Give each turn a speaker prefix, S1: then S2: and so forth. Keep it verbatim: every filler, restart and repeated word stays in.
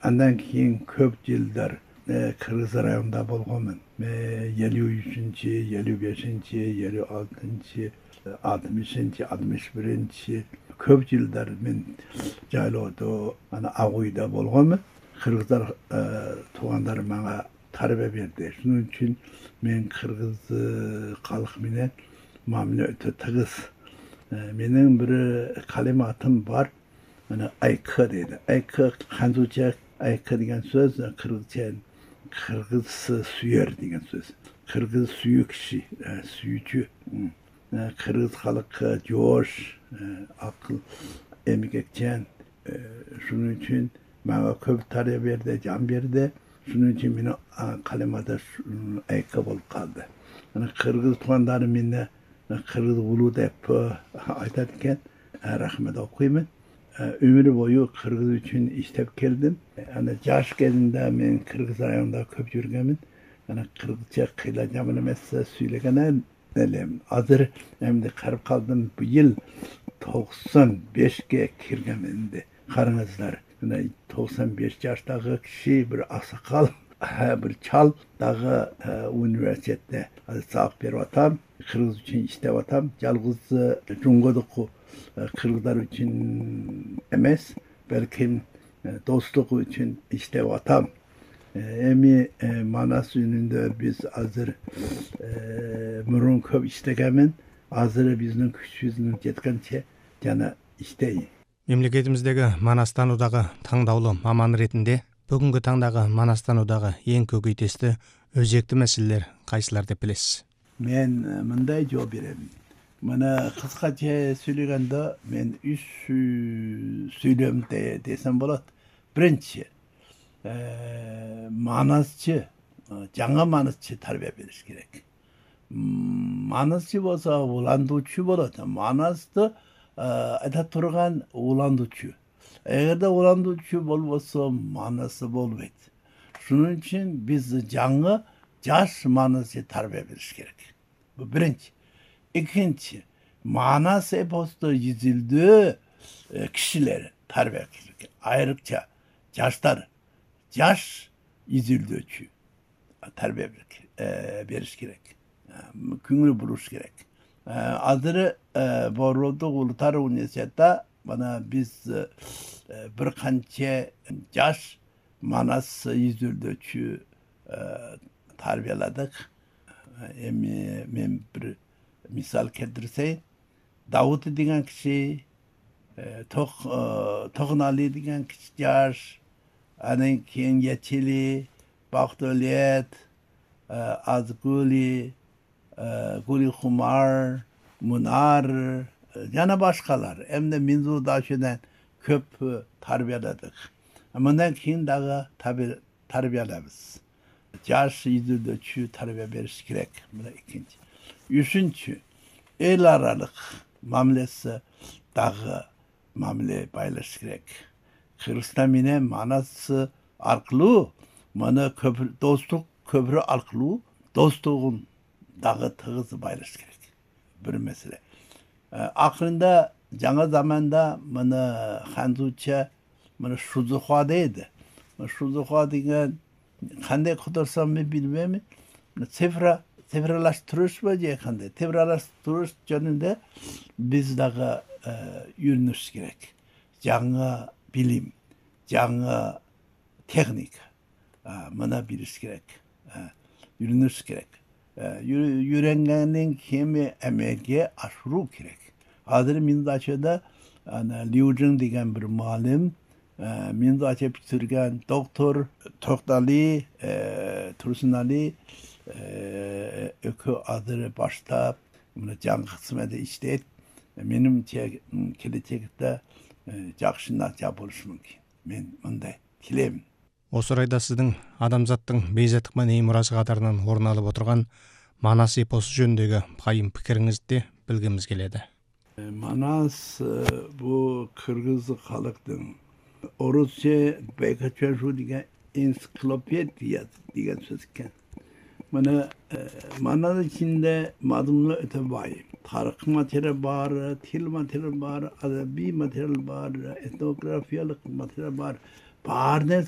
S1: Andan keyin көп жылдар Kırgız rayonunda болгонмун. elүү үчүнчү, elүү бешинчи, elүү алтынчы, алтымышынчы, алтымыш биринчи көп жылдар мен жайлоодо, ана Агуйда болгонмун. Kırgızдар туугандар мага тарбия берди. Шунун үчүн мен кыргыз калк менен мамиле өтө тыгыз. Менин бир калем атым бар. Ana aykı deydi. Aykı Hanzuca aykı деген söz Kırgızca Kırgız süyer деген söz. Kırgız suyu kişi, suyucu. Kırgız halkı joş, akıl, emgekçen. Şunun için bana köp tarih verdi, can verdi. Şunun için benim kalemada aykı bolup kaldı. Ana Kırgız tuğanlarım menne Kırgız ulu dep aytarken rahmet okuyayım. Ömür boyu Kırgız üçün iştep geldim. Yani yaş geldiğinde men Kırgız rayonunda köp yürgemin. Yani Kırgızca kıylacağım emesse söylegene nelem. Hazır hem de karıp kaldım bu yıl doksan beşge kirgemindi. Karınızlar. Yani doksan beş yaştaki kişi bir asakal, bir çal dağı üniversitede sağıp berip atam. Kırgız üçün iştep atam. Yalgız Cungo'daki Kırgızlar için emes, belki dostluk için işte vatam. Emi Manas önünde biz hazır mürün köp istegemin, hazır bizning küçüğüzün жеткенче жана иштейин.
S2: Мемлекетимиздеги Манастануудагы таңдаулуу маман ретинде бүгүнкү таңдагы Манастануудагы эң көкөйтестүү өзекти маселелер кайсылар деп билесиз?
S1: Мен мындай жооп берем. Bana kıskaça söylegende ben üç söylem de, desem bolat. Birinci, e, manasçı, жаңа manasçı tarbiye veriş gerek. Manasçı olsa ulanduçu bolat. Manasçı ayta turgan ulanduçu. Eğer de ulanduçu bolbosa manası bolbeyt. Şunun için biz жаңа жаш manasçı tarbiye veriş gerek. Bu birinci. İkinci, Manas eposta yazıldığı e, kişileri tarbiye edilirken, ayrıca yaşlar, yaş yazıldığı için tarbiye e, veriş gerek. Küngülü buluş gerek. E, adırı e, Borlov'da Ulutar Üniversitesi'de bana biz e, bir kança yaş Manas yazıldığı için e, tarbiyeladık. E, men bir misal keltirseyim, Davut degan kişi, Tok Toğnali degan kişi yaş, anan keyin Yechili, Bakdolet, Azguli, Guli Humar, Munar, yana başkalar. Hem de Minzudaşı'dan köp tarbiyaladık. Bundan keyin dağı tarbiyalabız. Yaş yüzüldü çü tarbiya veriş gerek. Bu da ikinci. Üçüncü, el aralık mamlesi dağı mamle paylaş gerek. Kırgızstan mine manası arkalı, mana köprü, dostluk köprü arkalı, dostluğun dağı tığızı paylaş gerek. Bir mesele. E, aklında, жаңа zamanda mana Hanzuca, mana Şuzuha'daydı. Şuzuha degen, kanday kudursam mı bilmem, sefra, Tevrarlaştırış mı diye kandı. Tevrarlaştırış yönünde biz daha e, yürünüş gerek. Жаңа bilim, жаңа teknik, e, buna biliş gerek. E, yürünüş gerek. E, yürüngenin kimi emeğe aşırı gerek. Hazır Mindaçı'da yani, Liu Jing degen bir malim, e, Mindaçı bitirgen doktor Toktali, e, Tursunali, ökü adını başta bunu can kısmında işleyip benim gelecekte жақшына жабылышы мүмкін. Мен мындай тілеймін.
S2: Осы орайда сіздің адамзаттың бейзаттық мәдени мұрасы қатарынан орын алып отырған Манас эпосы жөніндегі пайым пікіріңізді білгіміз келеді.
S1: Манас bu Kırgız халықтың Orusça Beykaçaшу деген ensiklopediya деген söz ekan. Mana Manas içinde madımlı öte var. Tarih materyal var, til materyal var, adabi materyal var, etnografiyalik materyal var. Var neyse